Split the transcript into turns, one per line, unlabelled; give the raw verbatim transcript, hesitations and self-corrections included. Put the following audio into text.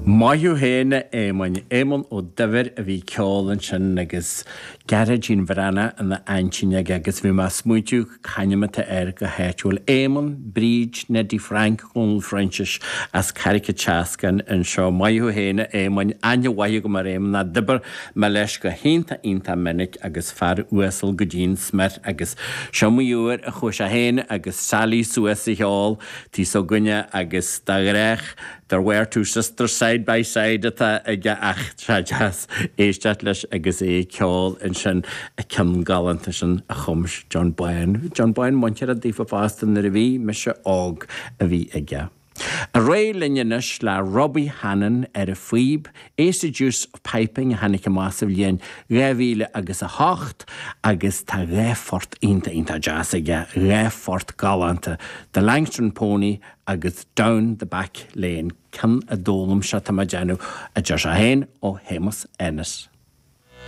Maith thú féin a Éamoinn, Éamonn Ó Duibhir a bhí ag ceol ansin agus Gearóidín Bhreathnach ina aintín aige agus bhí mé ag smaointiú c'ainm atá air go háitiúil. Éamonn, Bríd, Neddy Frank, Dhónaill Phroinsiais as Carraig an tSeascáin anseo. Maith thú féin a Éamoinn, aithne mhaith agam ar Éamonn, d'oibir mé leis go hiontach iontach minic agus fear uasal go dtí'n smior agus seo iomaí uair a chuaigh sé féin agus Sally suas a cheol tí s'againne agus de ghnách there were two sisters side by side atá aige ach sé deas éisteacht leis agus é ag ceol ansin an ceann galánta sin a chum John Bán. John Bán muinteartha daofa fosta nuair a bhí mise óg a bhí aige. Ar aghaidh linn anois le Robbie Hannan ar an phíb, Ace of Deuce of Piping a tháinig amach sa bhliain dhá mhíle agus a hocht agus tá dhá phort iontach iontach deas aige, dhá phort galánta, The Langstone Pony agus Down the Back Lane, ceann a d'fhoghlaim sé tá mé ag déanamh, a deir sé féin, ó Shéamus Ennis.